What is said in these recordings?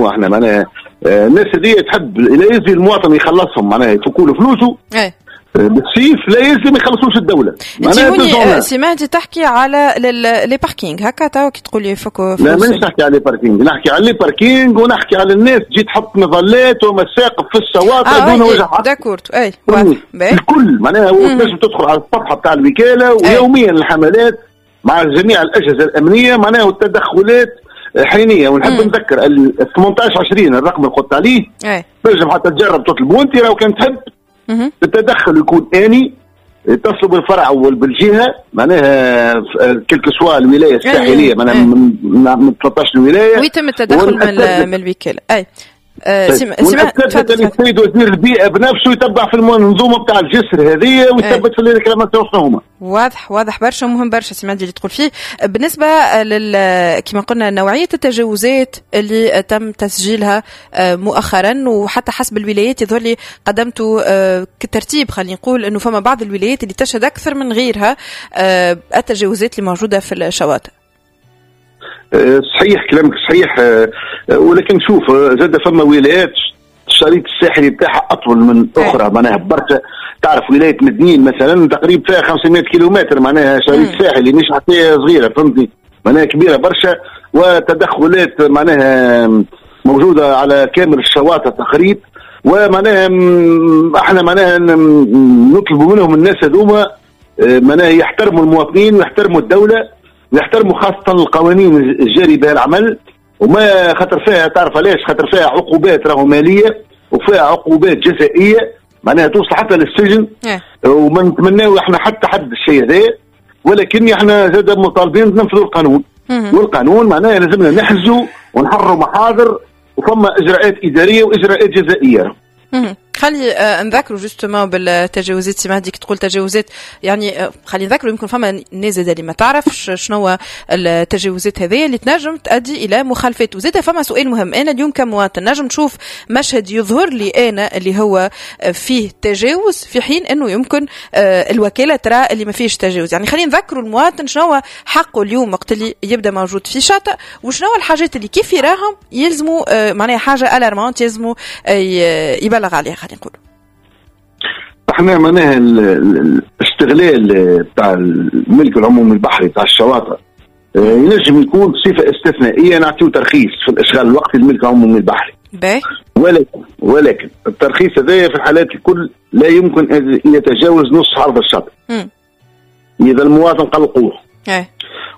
احنا معناها الناس هذه تحب لا يزي المواطن يخلصهم معناها يفكوا له فلوسه بالسيف، لا يلزم يخلصوش الدولة. انت هوني سمعتي تحكي على les parkings هكا تو كي تقول يفكوا فلوس؟ لا مانيش نحكي على les parkings، نحكي على les parkings ونحكي على الناس تجي تحط مظلات ومساقف في الشواطئ دون وجه حق. d'accord اي الكل معناها تنجم تدخل على الصفحة بتاع الوكالة ويوميا الحملات مع جميع الاجهزة الامنية معناها والتدخلات حينيه. ونحب نذكر ال 18 20 الرقم اللي قلت عليه تنجم حتى تجرب تطلبوا انت لو كان تحب. التدخل يكون اني يتصلوا بالفرع وبالجهه معناها quelle que soit الولاية الساحلية معناها من 13 ولاية ويتم التدخل من الوكالة. اي ونأكد السيد وزير البيئة بنفسه يتبع في المنظومة بتاع الجسر هذه ويثبت في ال réclamations شنو هما. واضح واضح برشا ومهم برشا سي مهدي اللي تقول فيه. بالنسبة لل كما قلنا نوعية التجاوزات اللي تم تسجيلها مؤخرا وحتى حسب الولايات يظهر لي قدمتوا كترتيب، خلينا نقول انه فما بعض الولايات اللي تشهد اكثر من غيرها التجاوزات اللي موجودة في الشواطئ. صحيح كلامك صحيح، ولكن شوف زاد فما ولايات الشريط الساحلي بتاعها اطول من اخرى معناها برشا. تعرف ولاية مدنين مثلا تقريبا فيها 500 كيلومتر معناها شريط ساحلي مش حتى صغيرة فهمتني، معناها كبيرة برشا وتدخلات معناها موجودة على كامل الشواطئ تقريبا. ومعناها احنا معناها نطلب منهم الناس هذوما معناها يحترموا المواطنين ويحترموا الدولة ويحترموا خاصة القوانين الجاري بها العمل، وما خاطر فيها تعرف علاش، خاطر فيها عقوبات راهو مالية وفيها عقوبات جزائية معناها توصل حتى للسجن. وما نتمناو احنا حتى حد الشيء هذا، ولكن احنا زاد مطالبين ننفذوا القانون. والقانون معناها لازمنا نحجزوا ونحرروا محاضر وفما اجراءات ادارية واجراءات جزائية. خلي نذكروا justement بالتجاوزات سي مهدي، تقول تجاوزات يعني خلي نذكروا يمكن فما ناس اللي ما تعرفش شنو التجاوزات هذه اللي تنجم تؤدي الى مخالفات. وزاد فما سؤال مهم، انا اليوم كمواطن نجم نشوف مشهد يظهر لي انا اللي هو فيه تجاوز في حين انه يمكن الوكالة ترى اللي ما فيهش تجاوز. يعني خلينا نذكروا المواطن شنو حقه اليوم وقت اللي يبدا موجود في شاطئ، وشنو الحاجات اللي كيف يراهم يلزموا معناها حاجة alarmante يلزموا يبلغ عليها. خلينا نقول احنا معناها الاستغلال بتاع الملك العمومي البحري بتاع الشواطئ ينجم يكون بصفة استثنائية، نعطيو ترخيص في الاشغال الوقتي للملك العمومي البحري. ولكن الترخيص هذا في الحالات الكل لا يمكن ان يتجاوز نص عرض الشاطئ. اذا المواطن قلقوه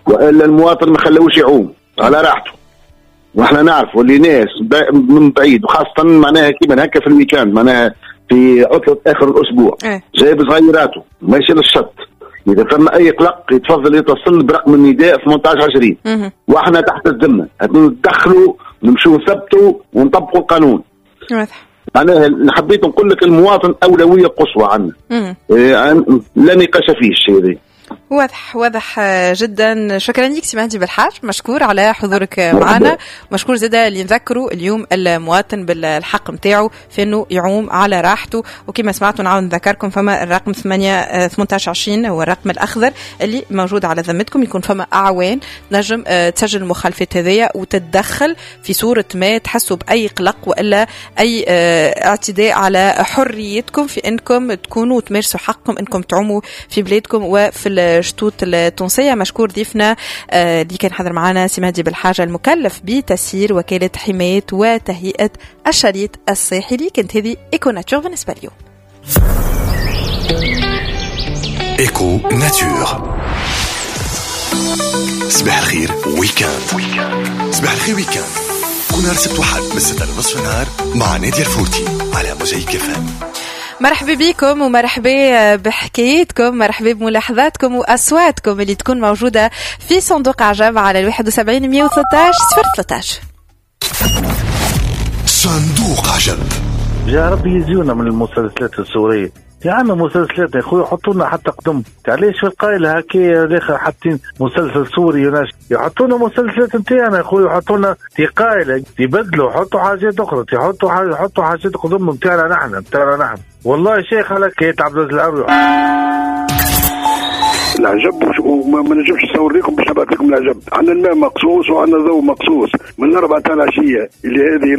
والا المواطن ما خلوش يعوم على راحته، واحنا نعرفوا اللي ناس من بعيد وخاصة معناها كيما هكا في ال week-end معناها في عطلة آخر الأسبوع جايب صغيراته ماشي للشط، إذا فما أي قلق يتفضل يتصل برقم النداء 18 20 واحنا تحت الذمة ندخلوا نمشوا نثبتوا ونطبقوا القانون. معناها حبيت نقول لك المواطن أولوية قصوى عندنا، لا نقاش فيه الشيء هذا. واضح واضح جدا. شكرا لك سي مهدي بالحاج، مشكور على حضورك معنا، مشكور زاده اللي نذكروا اليوم المواطن بالحق نتاعو في انه يعوم على راحته. وكما سمعتوا نعاود نذكركم فما الرقم 8 18 20 هو الرقم الاخضر اللي موجود على ذمتكم، يكون فما اعوان تنجم تسجل المخالفات هذيا وتتدخل في صوره ما تحسوا باي قلق والا اي اعتداء على حريتكم في انكم تكونوا تمارسوا حقكم انكم تعوموا في بلادكم وفي الشطوط التونسية. مشكور ضيفنا اللي كان حاضر معنا سي مهدي بالحاجة المكلف بتسيير وكالة حماية وتهيئة الشريط الساحلي. كانت هذه Éco Nature بالنسبة اليوم. Éco Nature. صباح الخير week-end. صباح الخير week-end كل نهار سبت وحد من 6:30 النهار مع نادية الفورتي على موزايك FM. مرحبا بكم ومرحبا بحكايتكم، مرحبا بملاحظاتكم وأصواتكم اللي تكون موجودة في صندوق عجب على 71 113 013. صندوق عجب. يا ربي يزيونا من المسلسلات السورية يا عم، مسلسلات يا خويا حطوا لنا حتى قدم، علاش في القايله هكا الاخر حاطين مسلسل سوري، يحطوا لنا مسلسلات نتاعنا يا خويا، يحطوا لنا قايله، يبدلوا حطوا حاجات اخرى، يحطوا حاجة، يحطوا حاجات قدم نتاعنا نحن، نتاعنا نحن. والله شيخ على كيت عبد العزيز العروي. العجب، وما نجمش نصور لكم باش نبعث لكم العجب. عندنا الماء مقصوص وعندنا الضوء مقصوص من 4 تاع العشية اللي هذه